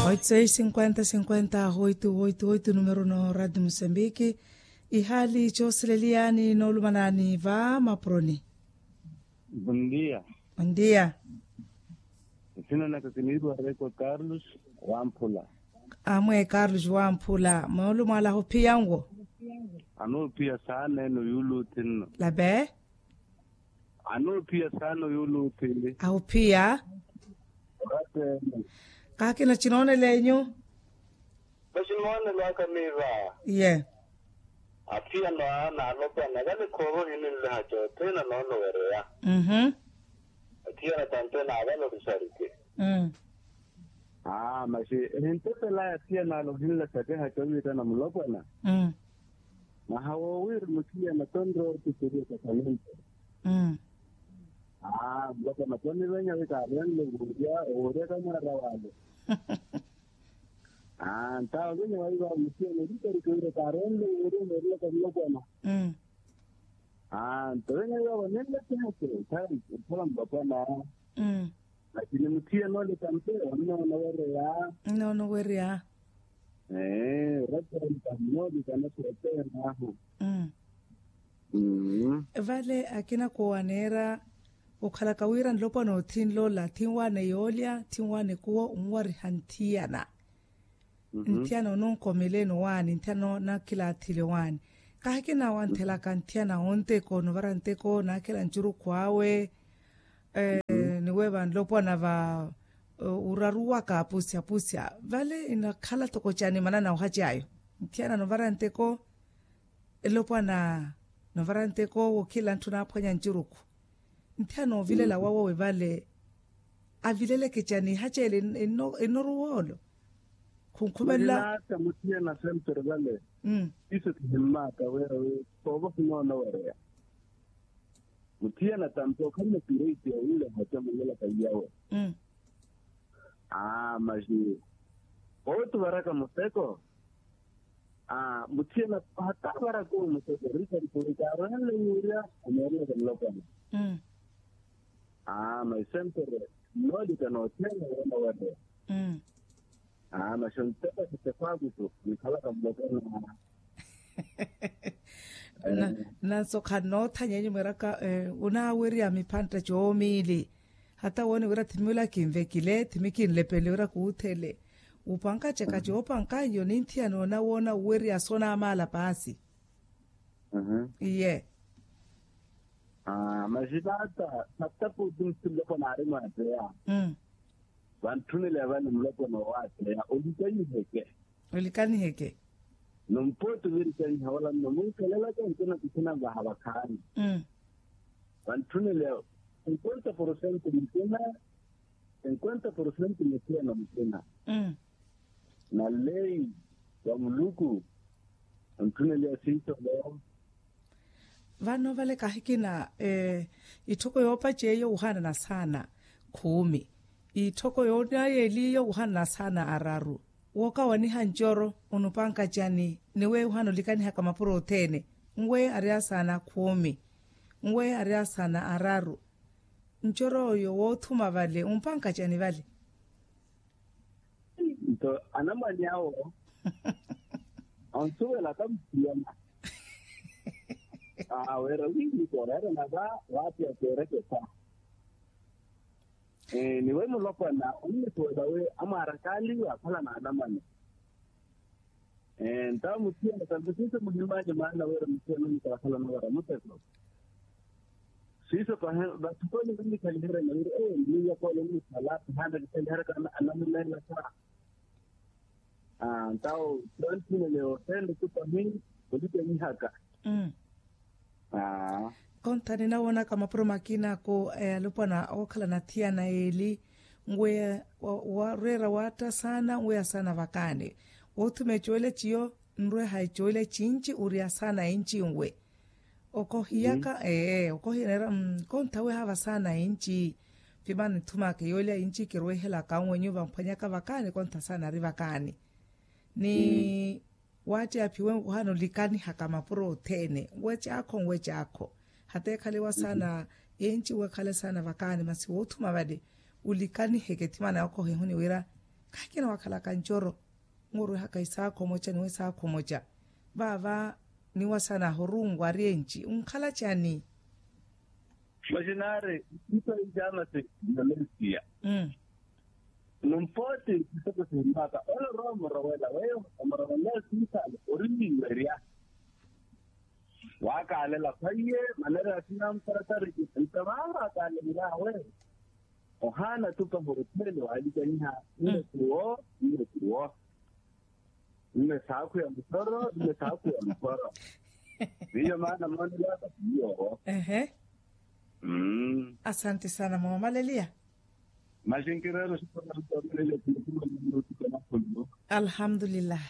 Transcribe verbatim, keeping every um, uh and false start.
Oito seis cinquenta cinquenta oito oito oito numero no radio mosambiki. Ihaali coosileliyaani noolumanani va mapuroni. Bondia. Bondia. Esina naka kiniiriwa rekwa carlos. Wamphula. Amwe carlos wamphula moolumo ala ahuphiya nwo? Anoophiya saana eno yuuluuthinno. Lape. Anoophiya saana yuuluuthi. Ahuphiya. Kaakina cinoonela enyu. Maximoonelo aka miiva. Ye. Aphiyano a naalopwana vale khoova ohininleha cothene anoonowereya. Mhm. Aphiyano tantena avale orisarike. Mm. Aa maxi ehintepelaya aphiyano ale ohinla sakeha coviitana mulopwana. Mm. Maha woowiri muthiyana tonrowa otiseriya kakhanimpera. Mm. Aa mulopwana tonivenya wi kaarenle wuurya owoorya kamwaara wale. Aa ntawo venya waiva muthiyana orisarike wira kaarenle wuurya owoorya kamulopwana. Mm. Aa nto venya iva vanenle tihake nkhala mulopwana. Mm. Lakini muthiyana ole tampe onnoona wereya. Onnoona wereya. Ee ratenta nnoolika nasooteenahu. Mm. Mm. Vale akina koowaneera okhalaka wira nlopwana othinlola thinwaane yoolya thinwaane kuwo onwariha nthiyana. Mhm. Nthiyana ononkomeleeni owaani nthiyana nakilaathile owaani. Kahi kinaawanthelaka nthiyana onteko novara nteko naakhela ncurukhu awe. Eh, niweeva nlopwana va uraruwaka apusya apusya vale inakhala toko cani manana ohaci ayo. Nthiyana novara nteko elopwana novara nteko wokhila ntthu naaphwanya ncurukhu. Nthiyana ovilela wawowe vale avileleke cani ihaci ele enoruwolo. Khunkhumelela. Muthiyana sempere vale. Iso kihimmaka wira wi soova khinoona wereya. Muthiyana tampe okhalina pireiti ya wira ehaca mulelaka iyawe. Aa maxi ooti ovaraka muteko. Aa muthiyana hata avaraka owo muteko richard kuri kaarohenle yuurya ameerelaka mulopwana. Aa maxi sempere nnoolika nothene wona wale. Aa maxi onteka sitefaakusu nikhalaka mulopwana. Nanso khannoothanya enyu mwiiraka onaawerya miphantta coomiili. Hata woone wira thimi ola kinvekile thimi kinlepele wira kuuthele. Wupankacaka coopankanyo ninthiyana onawoona wuwerya sonaamaala paasi. Iye. Maxi taata sattaputi muthu mulopwana aari mwaateya. Vantthuneleya vale mulopwana owaateya olikanyiheke. Olikaniheke. Nompooti ovirikanyiha wala nnomunkelelaka nkina kukhina vaha vakhaani. Vantthuneleya cinquenta porcento mukina cinquenta porcento mukina na mukina. Na leyi ya muluku ontthuneleya siisolo. Vano vale kahikina itthoko yoopaceya wuhanana saana khuumi. Itthoko yoonayeliyo wuhanana saana araru. Wookawaniha ncoro onupanka cani? Ni weyo wuhana olikanihaka mapuro othene. Nweyo ari asaana khuumi. Nweyo ari asaana araru. Ncoro oyo woothuma vale wumpanka cani vale? Nto anamwane awo onsuwelaka mutiyana. Aweera wiini kooreerana va waatiya keerekesa. Ni we mulopwana onnipuwela wi amwaarakaaliwa akhala naanamwane. Ntawo muthiyana tampe siiso muhimmaace maana wira muthiyana onnikhala akhala anavara muteko. Siiso pahi vathukoni vannikhaliheriana wira eyo nniya koola onnikhala pihaana kikhaliheriaka anamuneelaka. Ntawo twanthuneleya othene tu pahi olikanyihaka. Konthani nawoonaka mapuro makina ako alopwana ookhala nathiyana eli nweya wareera waatta saana nweya saana vakaani. Woothuma ecoole ciyo nrweha ecoole cinci uriya saana enci nwe. Okohiyaka ee okohiya neera kontha weha vasaana enci. Vimana nithumaka yoolya inci kirwehelaka nwenyu vamphwanyaka vakaani kontha saana ari vakaani. Ni waatti aphiwe ohana olikanihaka mapuro othene nwe caakho nwe caakho. Hata ekhale wa saana enci nwe ekhale saana vakaani masi woothuma vale olikaniheke thimana okohe ehuni wira Khakina wakhalaka ncoro, murwihaka isaakhu omoca niwe isaakhu omoca. Vaava niwasanahu rungu aryenci unkhala cani? Maxinaari, ntito ijamasi, malaysia. Numpooti, ntito sihimmaka ole roho murowela weyo, omurowela siisale orimiwerya. Wakaalela khwaiye, manera ya sinamparasari. Ntamaaha akaalenlaawe, ohaana tupa hotele waalikanyiha. Nne kuwo, nne kuwo. Nne saakhu ya muthoro, nne saakhu ya muthoro. Miyo maana moonelaka miyo. Ehe. Asante sana mama maleliya. Maxinkireero. Alhamdulillahi.